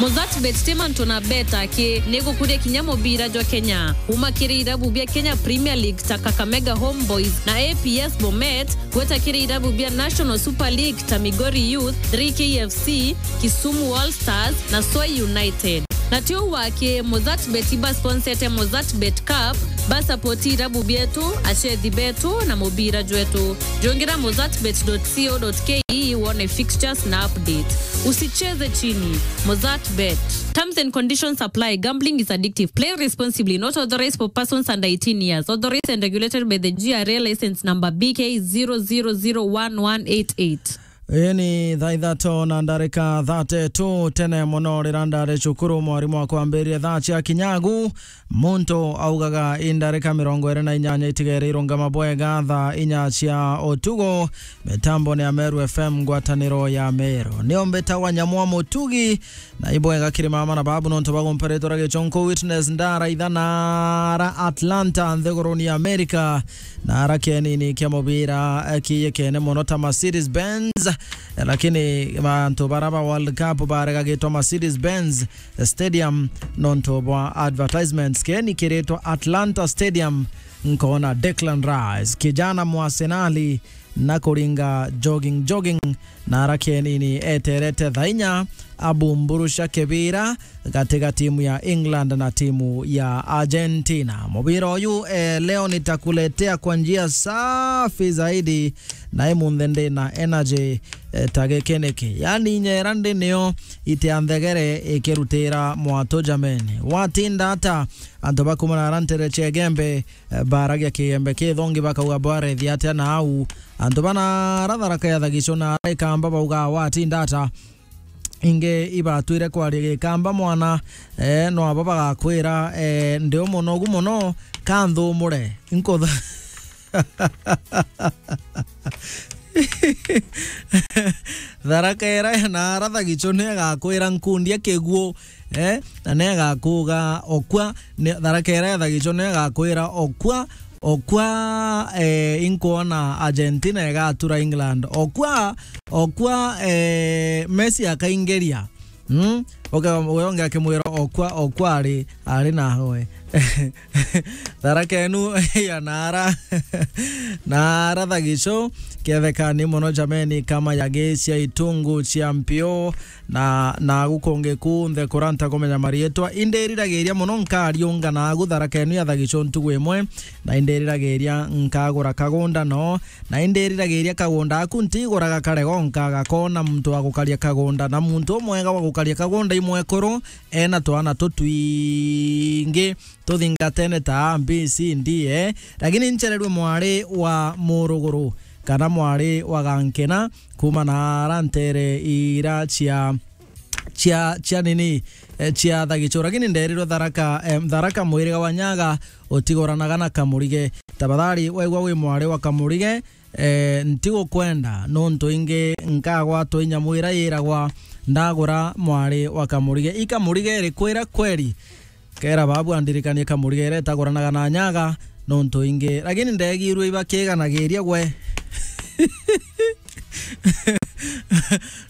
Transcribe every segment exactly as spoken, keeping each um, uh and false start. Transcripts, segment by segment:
Mozartbet ti mantu na beta aki, ni gukuria kinya mubira jwa Kenya. Kuma kiri irabu bia Kenya Premier League ta Kakamega Homeboys na A P S Bomet, gweta kiri irabu bia National Super League ta Migori Youth, three K F C, Kisumu All Stars na Swai United. Na ti uu aki, Mozartbet ibasponsete Mozartbet Cup, basapoti irabu bietu, achethi betu na mubira jwetu. Jungira mozartbet dot co dot ke wone fixtures na update. Usicheze chini. Mozartbet. Terms and conditions apply. Gambling is addictive. Play responsibly. Not authorized for persons under eighteen years. Authorized and regulated by the G R A license number B K zero zero zero one one eight eight. Ii ni thaa ithatu na ndarika thirty-two. Tene mono riria ndari cukuru, mwarimu akwambirie thaa cia kinyagu, muntu augaga, "I ndarika mirongo iri na inyanya itigere irungama bwega thaa inya cia utugu." Mitambo ni ya Meru F M, ngwataniro ya Meru. Nio mbitagwa Nyamwa Mutugi, na ibwega kiri mama na babu nontu bagumparitwa ra gichonko Witness ndara ithana ara Atlanta nthiguruni ya America. Na ara kienini kia mubira, eh, kiyekene mono ta Mercedes Benz, eh, lakini bantu bara ba World Cup baregagitwa Mercedes Benz Stadium nontu bwa advertisements. Kieni kiritwa Atlanta Stadium, nkona Declan Rice, kijana mwa Arsenal, na kuringa jogging, jogging, na ara kienini eterete thaa inya abumburusha kibira gati ga timu ya England na timu ya Argentina. Mubira uyu, eh, leo nitakuletea kwa njia safi zaidi, na imunthe ndi na energy, eh, ta giki niki. Yani, nyera ndi nio iti ya nthegere ikirutira mwatu jameni. Watinda ata antu bakumana ara ntere cia Igembe, eh, baragia Kigembe kithongi, bakauga bwarethia atia na au. Antu bana ara Tharaka ya Thagicho na ara Ikamba bauga watinda ata. Ingi ibatwire kwaria Gikamba mwana, eh, no abo bagakwira, eh, ndi umunogu muno, kanthumure. Nkutha-, Tharaka ira na ara Thagicho ni agakwira nkundia kiguo, eh, na ni agakuga okwa, ni Tharaka ira ya Thagicho ni agakwira okwa, okwa, eh, inkwona Argentina igatura England. Okwa, okwa, eh, Messi akaingeria. Mm? Oke, uyo ungi akimwira okwa, okwa ari, ari nawe. Tharaka enu ya nara, nara Thagicho, kethekani mono jameni, kama ya gisia itungu cia mpio, na, na gukungi kunthe kuranta kumenya marietwa. Indiriragiria mono nkariunga nagu Tharaka enu ya Thagicho ntugu imwe, na indiriragiria nkagura kagunda no, na indiriragiria kagunda aku ntiguraga karego nkaga kona muntu wa gukaria kagunda, na muntu umwega wa gukaria kagunda imwekuru, ena twana tutwingi tuthingatene ta A, B, C, D, eh. Lakini nchererwe mwari wa muruguru, kana mwari wa gankena, kuma na ara ntere ira cia, cia, cia nini, eh, cia Thagicho. Lakini nderirwe Tharaka, eh, Tharaka mwiriga wa Nyaga utigoranaga na Kamurige. Tafadhali, wegwa wi mwari wa Kamurige, eh, ntigukwenda, nontu ingi nkagwatwa inya mwira yiragwa ndagura mwari wa Kamurige. I Kamurige iriku ira kweri? Kera babu andirikanie Kamurige ira itaguranaga na Nyaga, nontu ingi. Lakini ndegirwe ibakiganagiria gwe.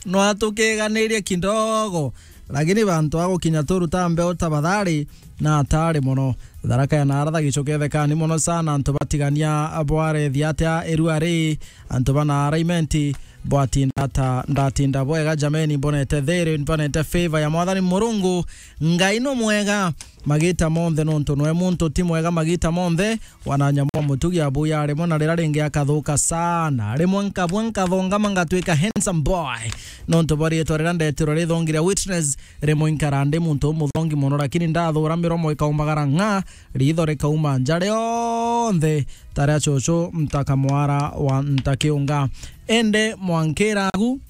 No atukiganirie kidogo. Lakini bantu a gukinya turuta mbeo tafadhali, na atari mono. Tharaka ya nara Thagicho kethekani mono sana, antu batigania bwarethia atia irua ri, antu ba nara Imenti, bwatinda ata, ndatinda bwega jameni, mbonete thiri, mbonete favor ya Mwathani Murungu. Ngai no mwega magita monthe, nontu nwe muntu ti mwega magita monthe. Wananyamwa Mutugi abuya rimwe na rira ringi akathuka sana. Rimwe nkabua nkathongama ngatwika handsome boy. Nontu bwa riitwa riria ndetirwe rithongi ria Witness, rimwe nkara ndi muntu umuthongi mono, lakini ndathura miromo ikaumbagara ng'a, riitho rikauma nja rionthe, ta ria cucu ntaka mwara wa ntakiunga. Ende mwankiragu,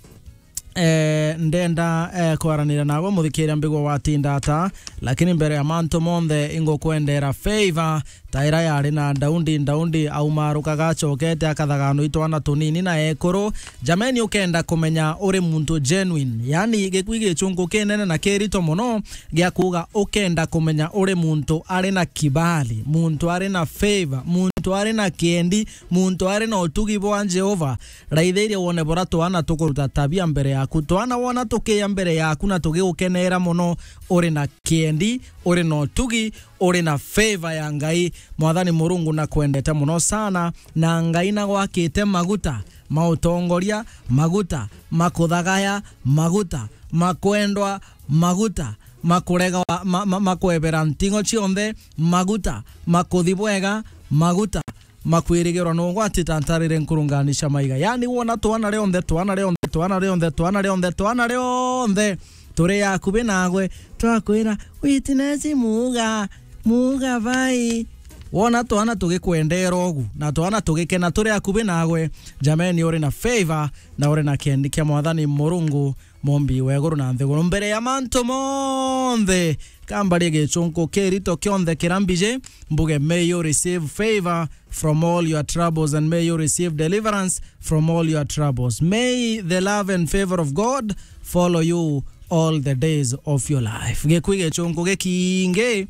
eh, ndenda, eh, kwaraniria nawe muthikiria mbigwa watinda ata, lakini mbere ya mantu monthe ingukwendera favor, ta ira yari na Daundi. Daundi aumarukaga acokete akathaganwa itwana tunini na ekuru. Jameni, ukenda kumenya uri muntu genuine, yani gikui gichungu kinene na kirito mono gia kuuga ukenda kumenya uri muntu ari na kibali, muntu ari na favor, muntu muntu ari na kiendi, muntu ari na utugi bwa Jehova. Raithiria wone bura twana tukuruta tabia mbere yaku. Twana wona tukiya mbere yaku na tugigukenera mono, uri na kiendi, uri na utugi, uri na favor ya Ngai. Mwathani Murungu nakwendete mono sana, na Ngai nagwakite maguta ma utongoria, maguta ma kuthagaya, maguta ma kwendwa, maguta ma kurega wa-, ma, ma, ma kwebera ntingo cionthe, maguta ma kuthi bwega, maguta ma kwirigirwa na ugwati ta ntarire nkurungani cia maiga. Yani wona twana rionthe, twana rionthe, twana rionthe, twana rionthe, twana rionthe turi akubi nagwe, twakwira, "Witness muga, muga bai." Wona twana tugikwendera ugu, na twana tugikena turi akubi nagwe, jameni, uri na favor na uri na kiendi kia Mwathani Murungu, Mumbi wa iguru na nthiguru. Mbere ya mantu monthe, kambarie gichunku kirito kionthe kira mbiji, mbuge, "May you receive favor from all your troubles and may you receive deliverance from all your troubles. May the love and favor of God follow you all the days of your life." Gikui gichunku gikingi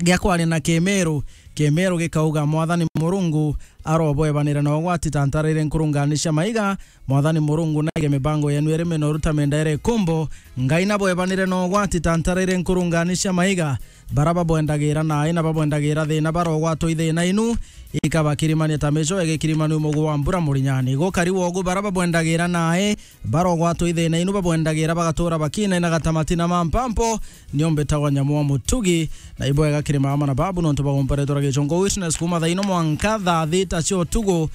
gia kwaria na Kimiru, Kimiru gikauga, "Mwathani Murungu arobwebanire na ugwati ta ntarire nkurungani cia maiga. Mwathani Murungu naige mibango yenu iri minoru ta minda iri ikumbo. Ngai nabwebanire na ugwati ta ntarire nkurungani cia maiga. Bara babwendagira naai na babwendagira thina barogwatwa i thina inu, ikabakirimania ta mico igikirimanua mugu wa mbura murinyani. Gukari wogu bara babwendagira naai barogwatwa i thina inu, babwendagira bagatuura bakinaina gatamati na mampampo. Nio mbitagwa Nyamu wa Mutugi, na ibwega kiri mama na babu nontu bagumpa ritwa ria gichunku." Witness kuuma thaa ino mwanka thaa thita cia utugu,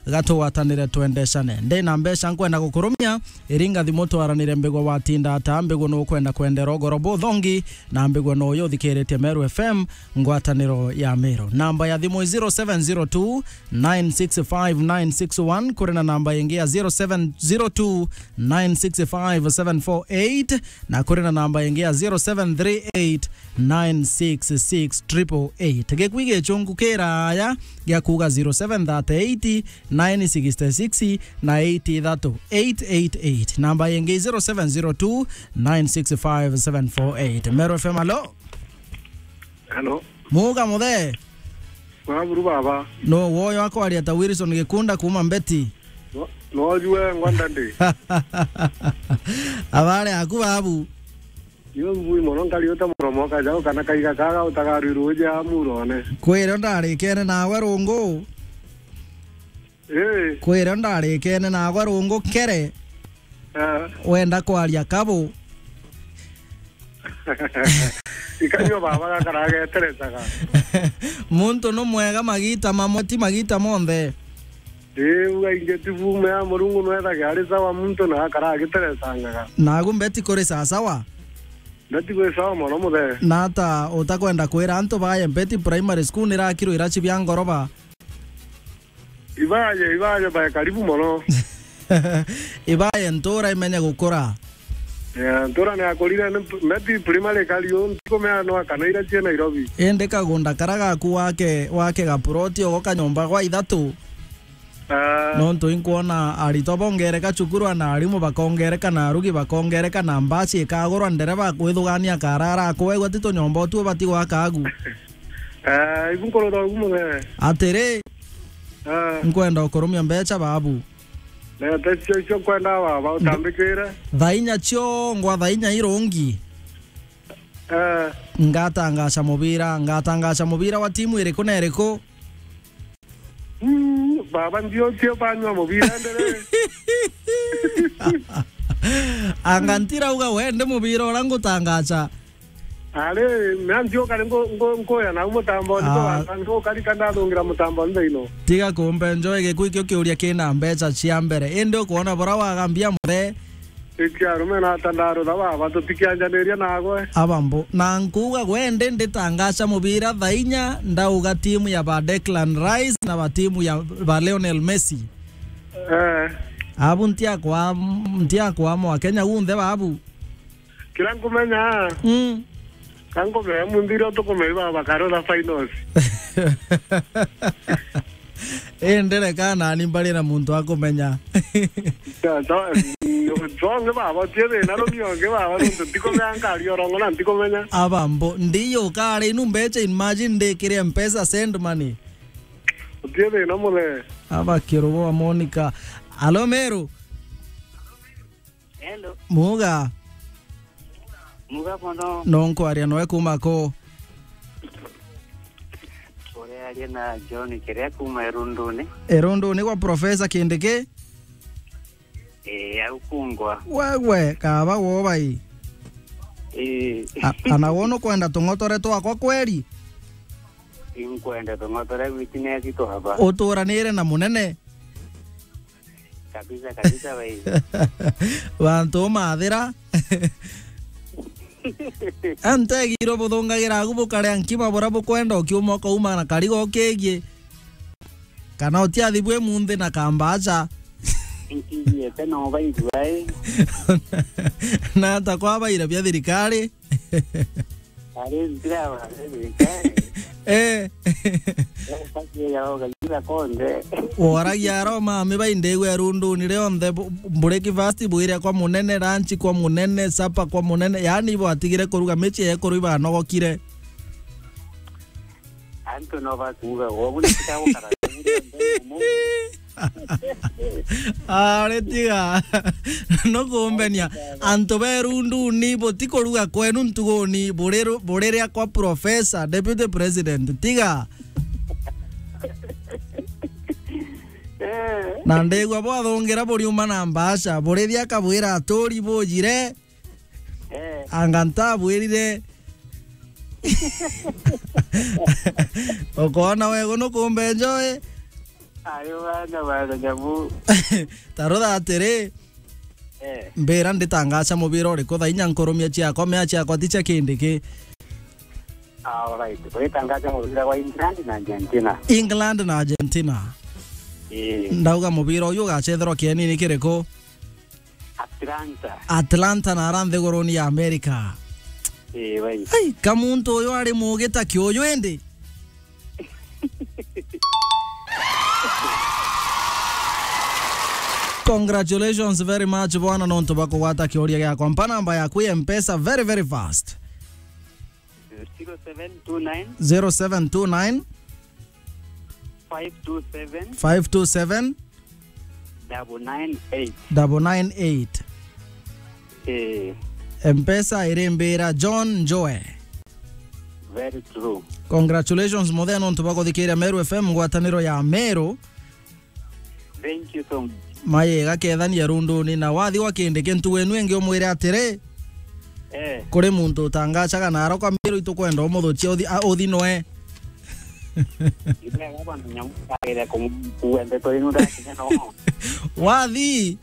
gatugwatanire twendecane. Ndi na mbeca nkwenda gukurumia, iringa thimu twaranire mbigwa watinda ata, mbigwa nukwenda kwendera ugoro buthongi, na mbigwa no uyu uthikiritie Meru F M, ngwataniro ya Meru. Namba ya thimu i zero seven zero two nine six five nine six one, kuri na namba ingi ya zero seven zero two nine six five seven four eight, na kuri na namba ingi ya zero seven three eight nine six six triple eight. Gikui gichunku kiraya gia kuuga zero seven thirty eight nine sixty six na eight ithatu eight eight eight. Namba ingi zero seven zero two nine six five seven four eight. Meru F M, alo? Hello. Muga muthe? Waburu baba. No woyo akwaria ta Wilson Gikunda kuuma Mbeti. No, no jue ngwanda ndi. Abare aku babu. Yo ngui mono nkari uta muromo kaja kana kaiga kaga utagarwirwo uja murone. Kwire ndarikene nawe rungu. Eh. Kwire ndarikene nawe rungu kere. Ah. Wenda kwaria kabu. Ikanyo baba gakarageterecaga. Muntu no mwega magita mamwe ti magita monthe. Riu aingi ti bume ya Murungu nwethaga ari sawa muntu na akara agiterecangaga. Nagu Mbeti kuri sasawa? Mbeti kuri sawa mono muthe. Na ata utakwenda kwira antu baye Mbeti Primary School nirakirwo irachi bia ngoroba? Ibaye, ibaye baye karibu mono. Ibaye ntura imenye gukura. Yeah, ntura ni akurire ni Mbeti Primary kariu ntikumea no akana irachi Nairobi. Indi kagunda kara gaku wake, wake gaploti ogo kanyomba gwa ithatu. Ah. Nontu inkwona aritwa bongereka cukuru, na arimu bakongereka, na arugi bakongereka, na mbaci ikagurwa, ndereba akwithugania akara arakwegua ti tunyomba utu ubati gwaka agu. Ah, ibu nkurora ugu muthe. Atiri, ah, nkwenda ukurumia mbecha babu. Leta cio cio kwenda baba utambikire. Thaa inya ciongwa, thaa inya irungi. Eh. Ngatangaca mubira, ngatangaca mubira wa timu iriku na iriku? Mm, baba, ndio tio banywa mubira ndere. Anga ntirauga wende mubira ura ngutangaca? Ari, mea ndio kari ngo-, ngo-, nkoya nau mutamboni, ah, ko baba, ngo kari kandathungira mutamboni thaino. Tiga kumbe njoe gikui kio kiuria kina mbeca cia mbere. Indi ukwona bura wagambia muthe? Iti arume na ata ndarutha baba, tutikianjaniria nagwe. Abambo, na nkuuga gwe ndi nditangaca mubira thaa inya, ndauga timu ya ba Declan Rice na ba timu ya ba Lionel Messi. Eh. Abu ntiakwa, ntiakwa mwa Kenya gunthe babu. Kira nkumenya, mm, ka nkumenya munthire utukumenya baba karutha finals. Indi reka nani mbari na muntu akumenya. Ya, so, tonge baba, tie thina rumi onge baba, nontu ntikumenya nkari orongo na ntikumenya. Abambo, ndiyo kare inu mbecha, imagine ndikire Mpesa send money. Utie thina muthe. Aba kirogo wa Monica. Alo, Meru. Hello. Muga. Muga mono. No nkwaria noe kuma ku? Urearia na John Kiria kuma Irunduni. Irunduni gwa Professor Kindiki? Ee, au kungwa. Wewe, kaba wobai. Ee. A-, ana wono kwenda tung'otore twakwa kweri? Inkwenda tung'otore witness twaba. Uturanire na munene. Kabisa, kabisa, bai. Bantu umathira. Antegiro buthungagira agu bukaria nkima bura bukwenda ukiuma ukauma na karigo ukigie. Kana utiathi bwi munthi na kambacha. Nkigiete no baigua, eh. Na ata kwa baira bia thirikari? Ari ntira wa thirikari. Eh. Ukagia ya ugagira konde. Waragia aro mami baindegwe Irunduni rionthe bu-, breakfast bwire kwa munene, lunch kwa munene, supper kwa munene. Yaani bwatigire kuruga michie yekuru ibanogokire. Antu no bakuuga, "Ubu ni kitabu kara." Ari tiga. No kumbenia. Antu ba Irunduni butikuruga kwenu ntuguni, buriru-, buriria kwa Professor, Deputy President. Tiga. Eh. Na ndigwa bwathungira buriuma na mbaca, burithia kabwira aturi bujire. Eh. Anga ntabwirire. Ukona wego nukumbe njoe. Ayo bana bana nyamu. Tarutha atiri. Eh. Mbira nditangaca mubira uriku thaa inya nkurumia ciakwa, mea ciakwa ti cia Kindiki. Alright. Uritangaca mubira wa England na Argentina. England na Argentina. Eh. Ndauga mubira uyu ugacetherwa kienini kiriku? Atlanta. Atlanta na ara nthiguruni ya America. Ii, bai. Ai, ka muntu uyu ari mugi ta kiuyu indi. Congratulations very much bwana, nontu bwa kugwata kiuria giakwa. Mpa namba yaku ya Mpesa very, very fast. Zero seven two nine. Zero seven two nine. Five two seven. Five two seven. Double nine eight. Double nine eight. Eh. Mpesa irimbira John Njoe. Very true. Congratulations, muthea, nontu bwa kuthikiria Meru F M, ngwataniro ya Meru. Thank you so much. Mayega kethania runduni, na wathi gwa Kindiki ntugu inu ingi umwire atiri, eh, kuri muntu utangacaga na arokwa Meru itukwenda umuthukia uthi, a, uthi noe. Ibega bantu nyamu kaire kum-, kuwe ndeto inu ndakinya no. Wathi,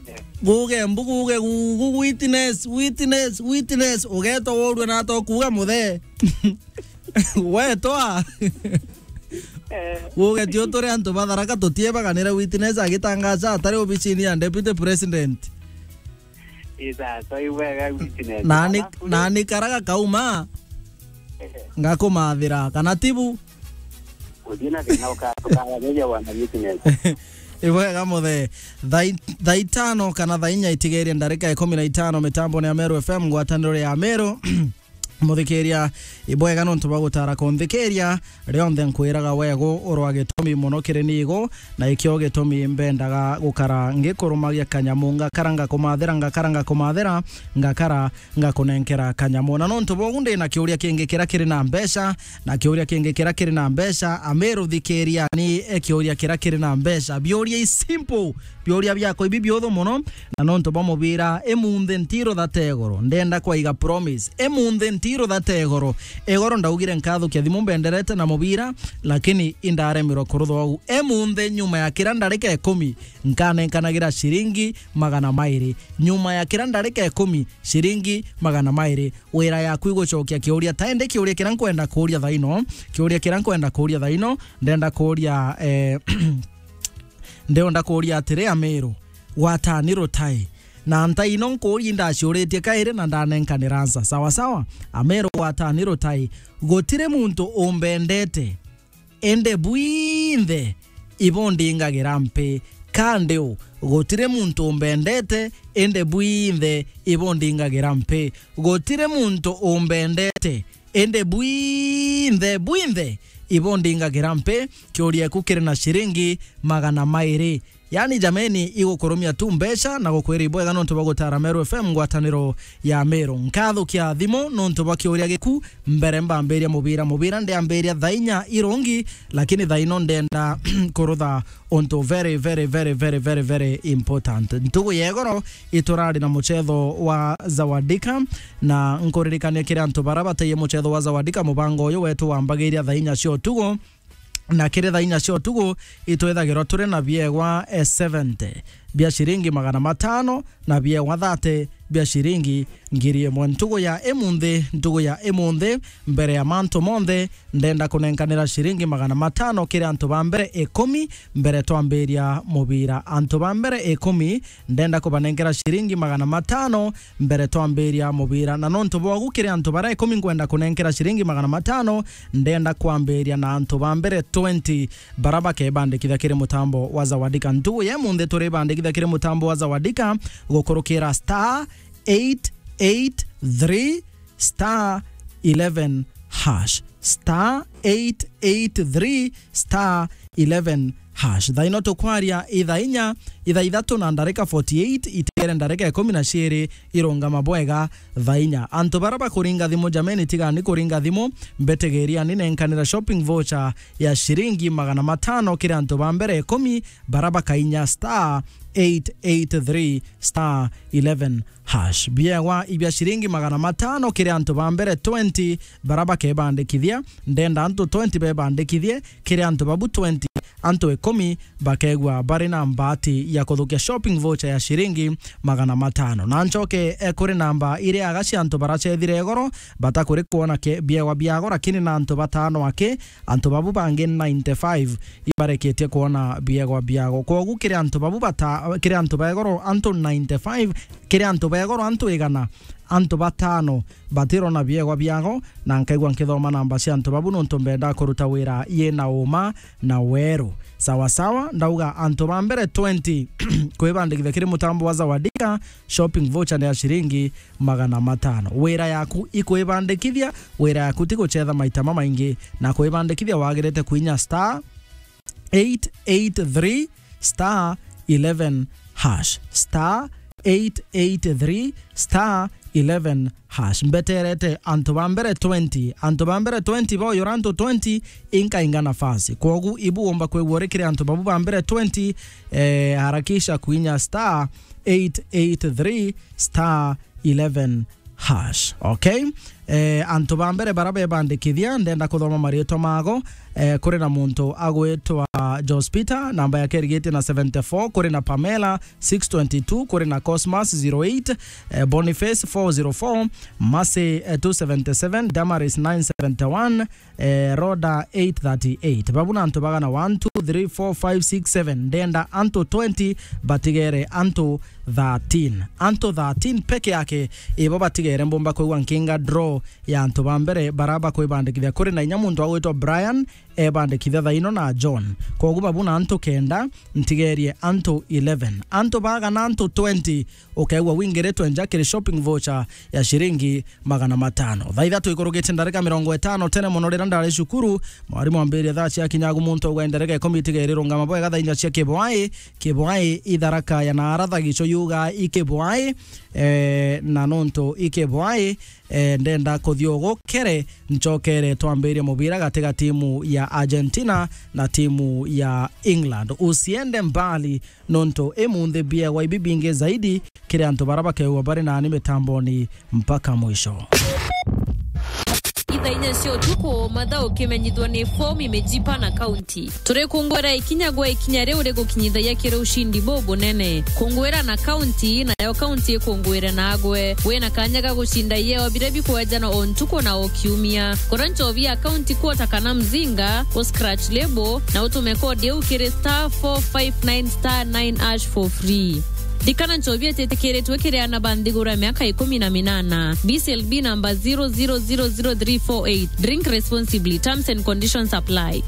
eh, guge mbu, guge gugu, witness, witness, witness, ugetwa urue na atokuga muthe. Wetwa. Eh. Guge tio turi antu ba Tharaka tutiebaganire witness agitangaca atari obicini ya Deputy President. Isa, so ibwega witness. Nani, alafu nani karaga kauma? Eh. Ngakumathira, kana tibu? Uthii na thina uka-, ukageria wana witness. Ibwega muthe. Thaa i-, thaa itano kana thaa inya itigerie ndarika ikumi na itano mitamboni ya Meru F M, ngwataniro ya Meru. Muthikiria, ibwega nontu bwa gutara kunthikiria. Rionthe nkwiraga wegu urwa gitumi mono kiri nigo, na ikio gitumi mbendaga gukara ngikurumagia kanyamu, ngakara ngakumathira, ngakara ngakumathira, ngakara ngakunenkera kanyamu. Na nontu bwogu ndi na kiuria kingi kira kiri na mbeca, na kiuria kingi kira kiri na mbeca, Amiru thikiria ni kiuria kira kiri na mbeca. Biuria i simple, biuria biakwa ibi biuthu mono, na nontu bwa mubira, imunthi ntirutha ta igoro, ndenda kwaiga promise. Imunthi ntirutha ta igoro. Igoro ndaugire nkathukia thimu mbenderete na mubira, lakini indaremirwe kurutha uu. Imunthi nyuma ya kira ndarika ikumi, nkanenkanagira ciringi magana mairi. Nyuma ya kira ndarika ikumi, ciringi magana mairi. Wira yaku igucokia kiuria. Ta indi kiuria kira nkwenda kuuria thaino, kiuria kira nkwenda kuuria thaino, ndenda kuuria, eh, Ndionda kuuria atiri, Amiru, gwatani rutai? Na ntai ino nkuuria indaciuritie kairi na ndanenkanira ansa. Sawa sawa. Amiru, gwatani rutai? Gutiri muntu umbendete, indi bwinthe ibundingagira mpi. Ka ndi u? Gutiri muntu umbendete, indi bwinthe ibundingagira mpi. Gutiri muntu umbendete, indi bwinthe, bwinthe ibondingagira mpi, kiuria eku kiri na ciringi magana mairi. Yani jameni, igukurumia tu mbeca na gukwira ibwega nontu bwa gutara Meru F M, ngwataniro ya Meru. Nkathukia thimu nontu bwa kiuria giku. Mbere mbambiria mubira, mubira ndiambiria thaa inya irungi, lakini thaa ino ndenda kurutha untu very, very, very, very, very, very important. Ntugu ya igoro iturari na mucetho wa Zawadika, na nkuririkania kiri antu bara bataiye mucetho wa Zawadika, mubango uyu wetu wambagiria thaa inya cia utugu, na kiri thaa inya cia utugu itwithagirwa turi na biegwa, eh, seventy bia ciringi magana matano na biegwa thirty bia ciringi ngiri imwe. Ntugu ya imunthi, ntugu ya imunthi, mbere ya mantu monthe, ndenda kunenkanira ciringi magana matano kiri antu ba mbere ikumi mbere twambiria mubira. Antu ba mbere ikumi ndenda kubanenkera ciringi magana matano mbere twambiria mubira. Na nontu bwogu kiri antu bara ikumi nkwenda kunenkera ciringi magana matano, ndenda kwambiria na antu ba mbere twenty bara bakebandikithia kiri mutambo wa Zawadika. Ntugu ya imunthi turibandikithia kiri mutambo wa Zawadika gukurukira star eight eight three star eleven hash. Star eight eight three star eleven hash. Thaa ino tukwaria ithaa inya, ithaa ithatu na ndarika forty-eight, itigere ndarika ikumi na ciiri irungama bwega thaa inya. Antu bara bakuringa thimu, jameni, tigani kuringa thimu, mbetegeriani nenkanira shopping voucher ya ciringi magana matano kiri antu ba mbere ikumi bara bakainya star eight eight three star eleven hash. Biegwa ibia ciringi magana matano kiri antu ba mbere twenty bara bakebandikithia. Ndenda antu twenty bebandikithie, kiri antu babu twenty, antu ikumi bakegua bari na mbati ya kuthukia shopping voucher ya ciringi magana matano. Na ncoke, eh, kuri namba iria aga cia antu baracethire igoro, batakuri kuona ke-, biegwa biago, lakini na antu batano aki, antu babu bangi ninety-five ibareketie kuona biegwa biago. Kwogu kiri antu babu bata-, kiri antu ba igoro antu ninety-five, kiri antu ba igoro antu igana, antu batano batirona biegwa biago, na nkaigua nkithoma namba cia antu babu nontu mbenda kuruta wira yina uma na weru. Sawa sawa, ndauga antu ba mbere twenty kwibandikithia kiri mutambo wa Zawadika, shopping voucher ni ya ciringi magana matano. Wira yaku ikwibandikithia, wira yaku ti gucetha maita mamaingi, na kwibandikithia wagirite kuinya star eight eight three star eleven hash. Star eight eight three star eleven hash. Mbeterete antu ba mbere twenty. Antu ba mbere twenty boyora antu twenty inkainga nafasi. Kwogu ibu umba kwigua uri kiri antu babu ba mbere twenty, eh, harakisha kuinya star eight eight three star eleven hash. Okay? Eh, antu ba mbere bara bebandikithia, ndenda kuthoma maritwa mago. Eh, kuri na muntu agwitwa Jospita, namba yake irigitie na seventy-four, kuri na Pamela six twenty-two, kuri na Cosmas zero eight, eh, Boniface four zero four, Mercy, eh, two seventy-seven, Damaris nine seventy-one, eh, Rhoda eight thirty-eight. Babu na antu bagana one, two, three, four, five, six, seven. Ndenda antu twenty batigere antu thirteen. Antu thirteen peke yake ibo batigere mbumba kwigua nkinga draw ya antu ba mbere bara bakwibandikithia. Kuri na inya muntu agwitwa Brian ebandikithia thaino na John. Kwogu babu na antu kenda, ntigerie antu eleven. Antu bagana antu twenty ukegua wingiritwe nja kiri shopping voucher ya ciringi magana matano. Thaa ithatu ikurugitie ndarika mirongo itano tene mono, riria ndari cukuru, mwarimu ambiririe thaa cia kinyagu muntu auga ndarika ikumi itigeri rungama bwega thaa inya cia kibwai, kibwai itharaka ya naara thagico yuga ikibwai, eh, na nontu ikibwai, eh, ndenda kuthia ugukere ncokere twambirie mubira gati ga timu ya Argentina na timu ya England. Usiende mbali, nontu imunthi biegwa ibi bingi zaidi kiri antu bara bakeua bari nani mitamboni mpaka mwisho. Ithaa inya cia utuku, mathaa ukimenyithwa ni fomu imejipa na kaunti. Turikungwira ikinya gwa ikinya riu rigukinyithagia kiri ushindi bubunene. Kungwira na kaunti, nayo kaunti ikungwire nagwe. Wina kanya ga gucinda ieo biria bikwejanwa o ntuku na o kiumia. Kura nchobi ya kaunti kuota kana mzinga, u scratch label, na utume kodi iu kiri star four five nine star nine hash for free. Ririkana, nchobi ititikiritwe kiri aana ba nthiguru ya miaka ikumi na minana. B C L B number zero zero zero zero three four eight. Drink responsibly. Terms and conditions apply.